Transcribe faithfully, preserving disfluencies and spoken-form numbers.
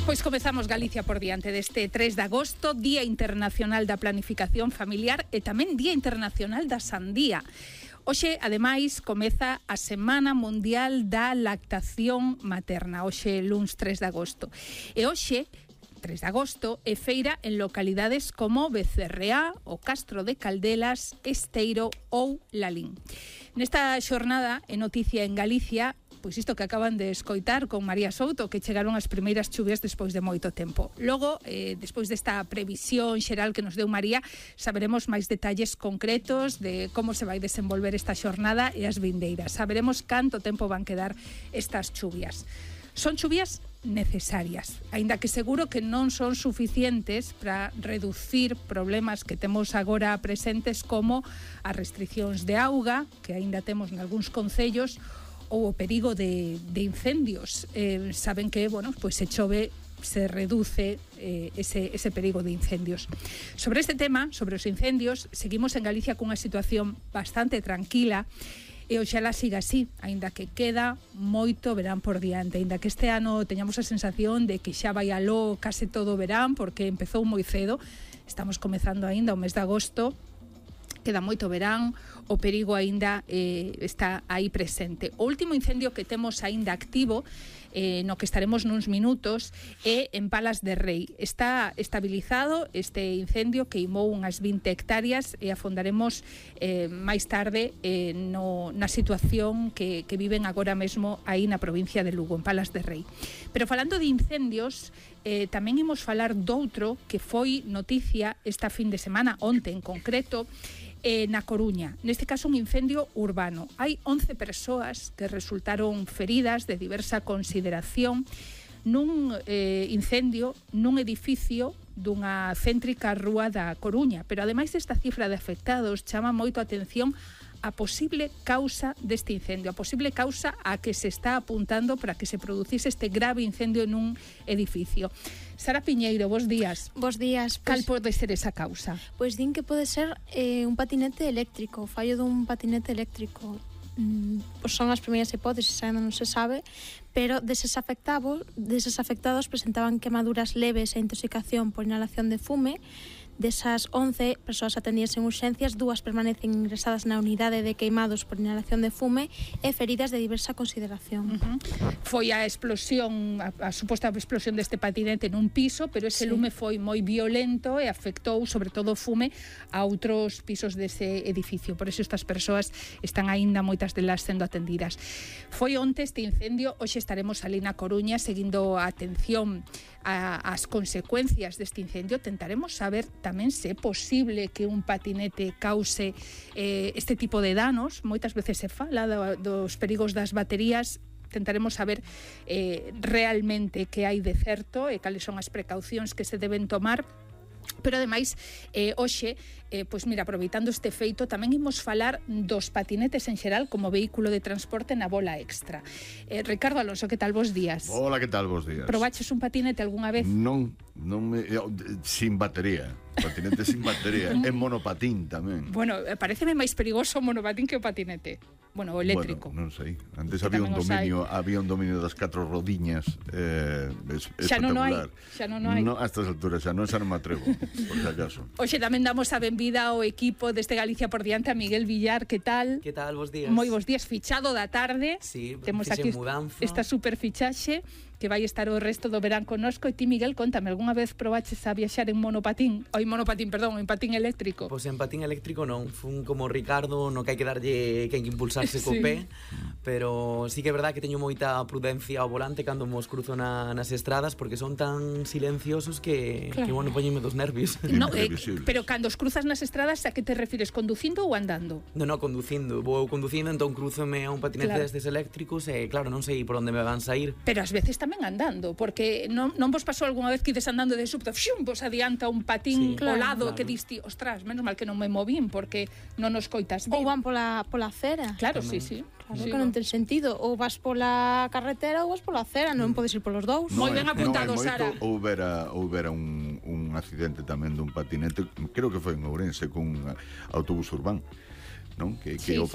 Pois comezamos Galicia por diante deste tres de agosto, Día Internacional da Planificación Familiar e tamén Día Internacional da Sandía. Hoxe, ademais, comeza a Semana Mundial da Lactación Materna, hoxe luns tres de agosto. E hoxe, tres de agosto, é feira en localidades como Becerreá, o Castro de Caldelas, Esteiro ou Lalín. Nesta xornada, é noticia en Galicia, pois isto que acaban de escoitar con María Souto, que chegaron as primeiras chuvias despois de moito tempo. Logo, eh, despois desta previsión xeral que nos deu María, saberemos máis detalles concretos de como se vai desenvolver esta xornada e as vindeiras. Saberemos canto tempo van quedar estas chuvias. Son chuvias necesarias, aínda que seguro que non son suficientes para reducir problemas que temos agora presentes como as restriccións de auga, que aínda temos nalgúns concellos, ou o perigo de, de incendios. Eh, saben que, bueno, pues se chove, se reduce eh, ese, ese perigo de incendios. Sobre este tema, sobre os incendios, seguimos en Galicia cunha situación bastante tranquila e oxalá siga así, aínda que queda moito verán por diante, aínda que este ano teñamos a sensación de que xa vai aló case todo o verán, porque empezou moi cedo, estamos comezando aínda o mes de agosto, queda moito verán, o perigo aínda eh, está aí presente. O último incendio que temos aínda activo, eh, no que estaremos nuns minutos, é en Palas de Rei. Está estabilizado este incendio que imou unhas vinte hectáreas e afondaremos eh, máis tarde eh, no, na situación que, que viven agora mesmo aí na provincia de Lugo, en Palas de Rei. Pero falando de incendios, eh, tamén imos falar doutro que foi noticia esta fin de semana, onte en concreto, Eh, na Coruña, neste caso un incendio urbano. Hai once persoas que resultaron feridas de diversa consideración nun eh, incendio nun edificio dunha céntrica rúa da Coruña, pero ademais desta cifra de afectados chama moito a atención a posible causa deste incendio, a posible causa a que se está apuntando para que se producise este grave incendio nun edificio. Sara Piñeiro, bos días. Bos días. Cal pues, pode ser esa causa? Pois din que pode ser eh, un patinete eléctrico, o fallo dun patinete eléctrico. Mm, pois son as primeiras hipótesis, ainda non se sabe, pero deses afectados, deses afectados presentaban quemaduras leves e intoxicación por inhalación de fume. Desas once persoas atendidas en urxencias, dúas permanecen ingresadas na unidade de queimados por inhalación de fume e feridas de diversa consideración. Uh-huh. Foi a explosión, a, a suposta explosión deste patinete nun piso, pero ese sí. lume foi moi violento e afectou, sobre todo o fume, a outros pisos dese edificio. Por eso estas persoas están aínda moitas delas sendo atendidas. Foi onte este incendio, hoxe estaremos ali na Coruña seguindo a atención a, as consecuencias deste incendio. Tentaremos saber tamén se é posible que un patinete cause eh, este tipo de danos. Moitas veces se fala do, dos perigos das baterías. Tentaremos saber eh, realmente que hai de certo e cales son as precaucións que se deben tomar. Pero ademais, eh, hoxe, eh, pois mira, aproveitando este feito, tamén imos falar dos patinetes en xeral como vehículo de transporte na bola extra. Eh, Ricardo Alonso, que tal, vos días? Hola, que tal, vos días? Probaches un patinete algunha vez? Non, non me, sin batería. Patinete sin batería, en monopatín tamén. Bueno, pareceme máis perigoso o monopatín que o patinete. Bueno, o eléctrico. Bueno, non sei. Antes había un dominio, había un dominio das catro rodiñas eh, es, xa non hai, espectacular. Xa non hai. No, a estas alturas xa non, xa non me atrevo, por si acaso. Hoxe tamén damos a benvida ao equipo deste Galicia por diante, a Miguel Villar, que tal? Que tal, bos días? Moi bos días, fichado da tarde. Sí, temos aquí mudanza. Esta super fichaxe que vai estar o resto do verán connosco. E ti, Miguel, contame, algunha vez probaches a viaxar en monopatín? Ou en monopatín, perdón, en patín eléctrico? Pois en patín eléctrico non, fun como Ricardo, no que hai que darlle, que hai que impulsarse co sí. pé, pero sí que é verdad que teño moita prudencia ao volante cando mos cruzo na, nas estradas, porque son tan silenciosos que, claro. que bueno, poñeme dos nervios. No, eh, pero cando os cruzas nas estradas, a que te refires, conducindo ou andando? Non, non, conducindo, vou conducindo, entón cruzome a un patinete claro. destes eléctricos e claro, non sei por onde me van sair. Pero ás veces tamén andando, porque non, non vos pasou algunha vez que ides andando de súbito, fium, vos adianta un patín sí, claro, ao lado claro. que diste, ostras, menos mal que non me movín porque non nos coitas bien. Ou van pola, pola acera. Claro, tamén. sí, sí. Claro, sí, que non ten sentido. Ou vas pola carretera ou vas pola acera, non podes ir polos dous. Moi ben apuntado, non Sara. Houbera, houbera un, un accidente tamén dun patinete, creo que foi en Ourense, cun autobús urbano, non? Que, que sí, o